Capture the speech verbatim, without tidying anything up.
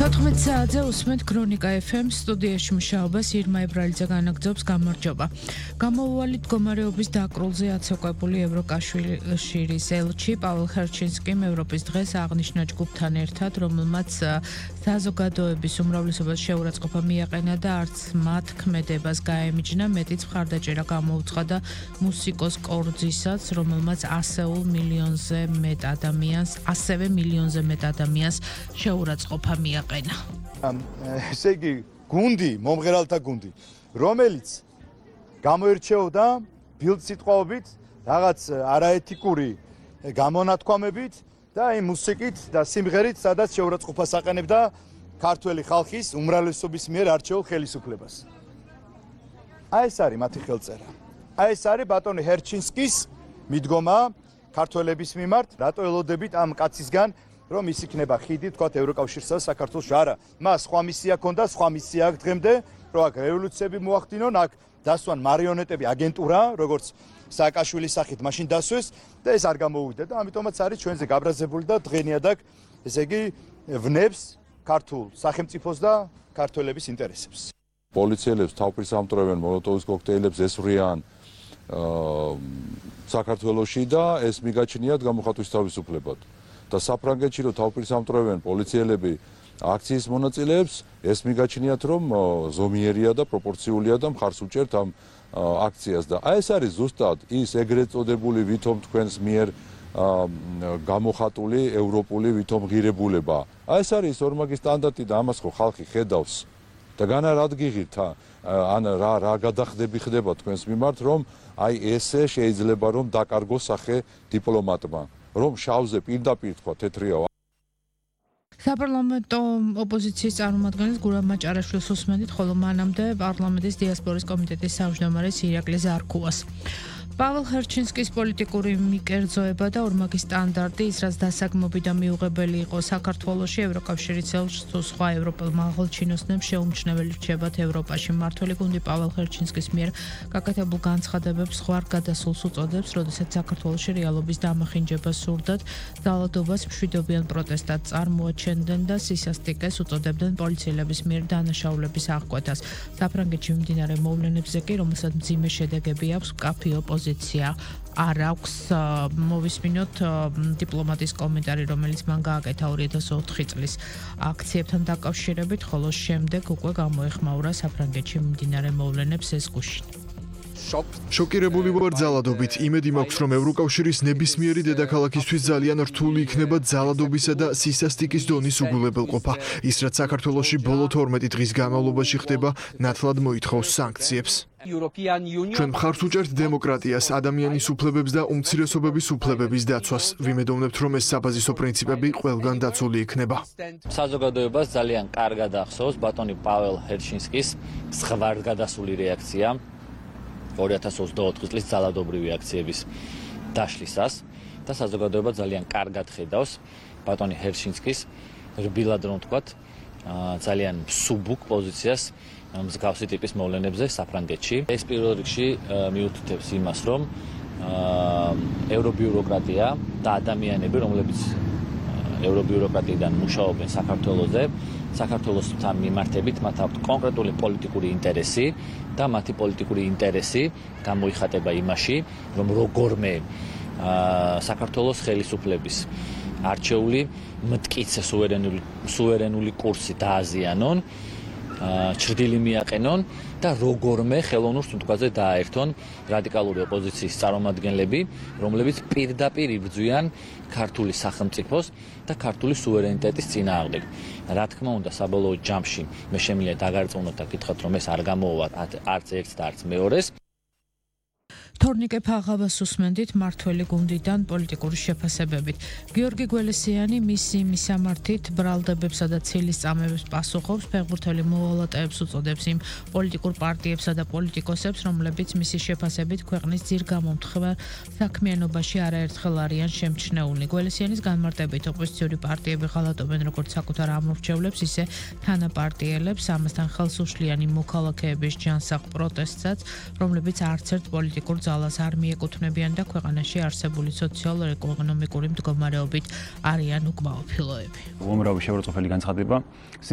თოთხმეტ საათზე უსმენთ ქრონიკა ეფ ემ სტუდიაში მუშაობას ირმა ებრალიძე განაგრძობს გამარჯობა. Გამოუვალი მდგომარეობის დაკრულზე აცეკვებული ევროკავშირის ელჩი პაველ ჰერჩინსკიმ ევროპის დღეს აღნიშნა ჯგუფთან ერთად, რომელმაც საზოგადოების უმრავლესობას შეურაცხყოფა მიაყენა და არც მათ ქმედებას გაემიჯნა, მეტიც მხარდაჭერა გამოუცხადა მუსიკოს კორძისაც, რომელმაც ასეულ მილიონზე მეტ ადამიანს, ასევე მილიონზე მეტ ადამიანს შეურაცხყოფა მიაყენა. ესე იგი, გუნდი, მომღერალთა გუნდი, რომელიც გამოირჩეოდა ბილდსიტყვაობით, რაღაც არაეთიკური გამონათქვამებით და იმ მუსიკით და სიმღერით, სადაც შეურაცხყოფას აყენებდა ქართველი ხალხის უმრავლესობის მიერ არჩეულ ხელისუფლებას. აი ეს არის მათი ხელწერა. აი ეს არის ბატონი ჰერჩინსკის მიდგომა ქართველების მიმართ, რატო ელოდებით ამ კაცისგან რომ ის იქნება ხიდი, თქვათ, ევროკავშირსა და საქართველოს არა. მას სხვა მისია ჰქონდა, სხვა მისია აქვს დღემდე, რომ აქ რევოლუციები მოახდინონ, აქ დასვან მარიონეტები, აგენტურა, როგორც სააკაშვილის სახით მაშინ დასვეს და ეს არ გამოუვიდა და ამიტომაც არის ჩვენზე გაბრაზებული და დღენიადაკ, ესე იგი, ვნებს ქართულ სახელმწიფოს და ქართველების ინტერესებს. პოლიციელებს თავფრის ამტვრევენ მოლოტოვის კოქტეილებს ესვრიან საქართველოში და ეს მიგაჩნიათ გამოხატვის თავისუფლებად. და საფრანგეთში რომ თავფრის ამტვრევენ პოლიციელები აქციის მონაწილეებს, ეს მიგაჩნიათ რომ ზომიერია და პროპორციულია და მხარს უჭერთ ამ აქციას და აი ეს არის ზუსტად ის ეგრეთ წოდებული ვითომ თქვენს მიერ გამოხატული ევროპული ვითომ ღირებულება. აი ეს არის ორმაგი სტანდარტი და ამას ხო ხალხი ხედავს. და განა რად გიღირთ ან რა რა გადახდები ხდება თქვენს მიმართ რომ აი ესე შეიძლება რომ დაკარგოს სახე დიპლომატმა. რომ შავზე პირდაპირ თქვა თეთრია. საპარლამენტო ოპოზიციის წარმომადგენლის გურამ მაჭარაშვილს უსმენთ, ხოლო მანამდე პარლამენტის დიასპორის კომიტეტის თავმჯდომარეს ირაკლი ზარქუას. პაველ ჰერჩინსკის პოლიტიკური მიკერძოება და ორმაგი სტანდარტი, ის რაც დასაგმობი და მიუღებელი იყო საქართველოში, ევროკავშირის ელჩს თუ სხვა ევროპელმა აღელჩინოსნებს შეუმჩნეველი რჩებათ ევროპაში. მმართველი გუნდი პაველ ჰერჩინსკის მიერ გაკეთებულ განცხადებებს ზღვარ გადასულს უწოდებს, როდესაც საქართველოში რეალობის დამახინჯება სურდათ, ძალადობას მშვიდობიან პროტესტად წარმოაჩენდნენ და სისასტიკეს უწოდებდნენ პოლიციელების მიერ დანაშაულების აღკვეთას. საფრანგეთში მიმდინარე მოვლენებზე კი, რომელსაც მძიმე შედეგები აქვს, მკაფიო ოპოზიცია არ აქვს. მოვისმინოთ დიპლომატის კომენტარი, რომელიც მან გააკეთა ორი ათას ოთხი წლის აქციებთან დაკავშირებით, ხოლო შემდეგ უკვე გამოეხმაურა საფრანგეთში მიმდინარე მოვლენებს ეს გუშინ. შოკირებული ვარ ძალადობით. იმედი მაქვს, რომ ევროკავშირის ნებისმიერი დედაქალაქისთვის ძალიან რთული იქნება ძალადობისა და სისასტიკის დონის უგულებელყოფა. ის რაც საქართველოში ბოლო თორმეტი დღის განმავლობაში ხდება, ნათლად მოითხოვს სანქციებს. ჩვენ მხარს უჭერთ დემოკრატიას, ადამიანის უფლებებს და უმცირესობების უფლებების დაცვას. ვიმედოვნებთ, რომ ეს საბაზისო პრინციპები ყველგან დაცული იქნება. საზოგადოებას ძალიან კარგად ახსოვს ბატონი პაველ ჰერჩინსკის ზღვარგადასული რეაქცია ორი ათას ოცდაოთხი წლის ძალადობრივი აქციების დაშლისას და საზოგადოება ძალიან კარგად ხედავს ბატონი ჰერჩინსკის რბილად რომ ვთქვათ ძალიან მსუბუქ პოზიციას მსგავსი ტიპის მოვლენებზე საფრანგეთში. ეს პირველ რიგში მიუთითებს იმას, რომ ევრობიუროკრატია და ადამიანები, რომლებიც ევრობიუროკრატიიდან მუშაობენ საქართველოზე, საქართველოსთან მიმართებით მათ აქვთ კონკრეტული პოლიტიკური ინტერესი და მათი პოლიტიკური ინტერესი გამოიხატება იმაში, რომ როგორმე საქართველოს ხელისუფლების არჩეული მტკიცე სუვერენული სუვერენული კურსი დააზიანონ, ჩრდილი მიაყენონ და როგორმე ხელოვნურ სუნთქვაზე დააერთონ რადიკალური ოპოზიციის წარმომადგენლები, რომლებიც პირდაპირ იბრძვიან ქართული სახელმწიფოს და ქართული სუვერენიტეტის წინააღმდეგ. რა თქმა უნდა, საბოლოო ჯამში მე შემიძლია დაგარწმუნოთ და გითხრათ, რომ ეს არ გამოუვა არც ერთს და არც მეორეს. თორნიკე ფაღავას უსმენდით მართველი გუნდიდან პოლიტიკური შეფასებებით. გიორგი გველესიანი მისი მისამართით ბრალდებებსა და ცილის წამებებს პასუხობს, ფეხბურთელი მოვალატეებს უწოდებს იმ პოლიტიკურ პარტიებსა და პოლიტიკოსებს, რომლებიც მისი შეფასებით ქვეყნის ძირგამომთხარ საქმიანობაში არაერთხელ არიან შემჩნეული. გველესიანის განმარტებით ოპოზიციური პარტიები ღალატობენ როგორც საკუთარ ამორჩევლებს, ისე თანაპარტიელებს, ამასთან ხელს უშლიან იმ მოქალაქეების ჯანსაღ პროტესტსაც, რომლებიც არც ერთ პოლიტიკურ ძალას არ მიეკუთვნებიან და ქვეყანაში არსებული სოციალურ-ეკონომიკური მდგომარეობით არიან უკმაყოფილოები. უამრავი შეურაცხყოფელი განცხადება